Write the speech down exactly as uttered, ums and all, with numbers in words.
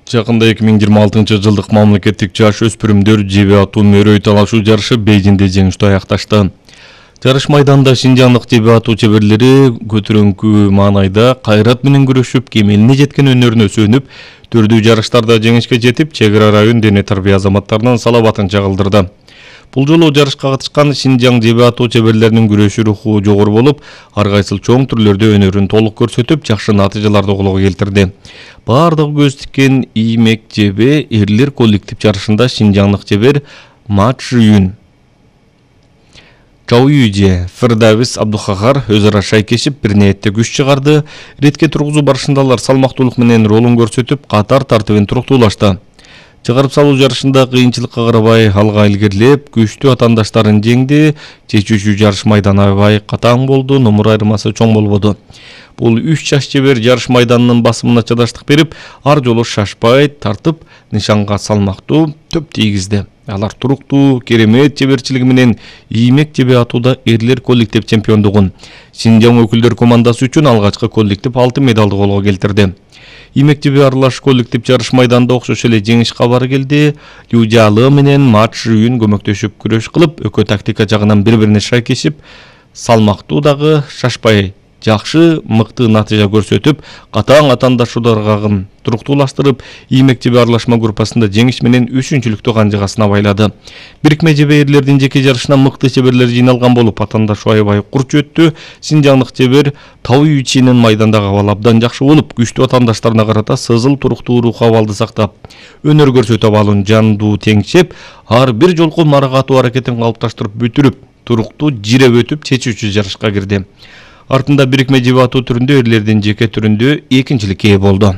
Жакында эки миң жыйырма алтынчы жылдык мамлекеттик жаш өспүрүмдөр жебе атуу мөрөй талашуу жарышы Бейжиңде жеңиштүү аякташты. Жарыш майданында шинжаңдык жебе атуу чеберлери көтөрүңкү маанайда кайрат менен күрөшүп, кемелине жеткен өнөрүнө сүйүнүп, түрдүү жарыштарда жеңишке жетип, чек ара район дене тарбия азаматтарынын салабатын чагылдырды. Бул жолу жарышка катышкан Шинжаң жебе атуу чеберлеринин күрөшүү руху жогору болуп, ар кайсыл чоң түрлөрдө өнөрүн толук көрсөтүп, жакшы натыйжаларды колго келтирди. Бардыгы көз тиккен иймек жебе эрлер коллектив жарышында шинжаңдык жебер Ма Чжиюн, Чао Юйже, Фердавис Абдухагар өз ара шайкешип, бир ниетте күч чыгарды. Ретке тургузуу барышында алар салмактуулук менен ролун көрсөтүп, катар тартыбын туруктуулашты. Чыгарып салуу жарышында кыйынчылыкка карабай алга илгерлеп, күчтүү атаандаштарын жеңди. Чечүүчү жарыш майданы аябай катаң болду, номур айырмасы чоң болбоду. Бул үч жаш жебер жарыш майданынын басымына чыдаштык берип, ар жолу шашпай тартып, нишанга салмактуу төп тийгизди. Алар туруктуу, керемет жеберчилиги менен иймек жебе атууда эрлер коллектив чемпиондугун, Шинжаң өкүлдөр командасы үчүн алгачкы коллектив алтын медалды колго келтирди. Иймек жебе аралаш коллектив жарыш майданында окшош эле жеңиш кабары келди. Южалы менен Ма Чжиюн көмөктөшүп күрөш кылып, экөө тактика жагынан бири-бирине шайкешип, салмактуу дагы шашпай жакшы мыкты натыйжа көрсөтүп, катаң атаандашууларга туруктуулаштырып, иймек жебе аралашма группасында жеңиш менен үчүнчүлүктү канжыгасына байлады. Бирикме жебе эрлердин жеке жарышына мыкты чеберлер жыйналган болуп, атаандашуу аябай курч өттү. Шинжаңдык жебер Чао Юйчинин майдандагы абалы абдан жакшы болуп, күчтүү атаандаштарына карата сызыл туруктуу рух абалды сактап, өнөр көрсөтүп абалын жандуу теңшеп, ар бир жолку маракатуу аракетин калыпташтырып бүтүрүп, туруктуу жиреп өтүп, чечүүчү жарышка кирди. Артында бирикме жебе атуу түрүндө эрлердин жеке түрүндө экинчиликке ээ болду.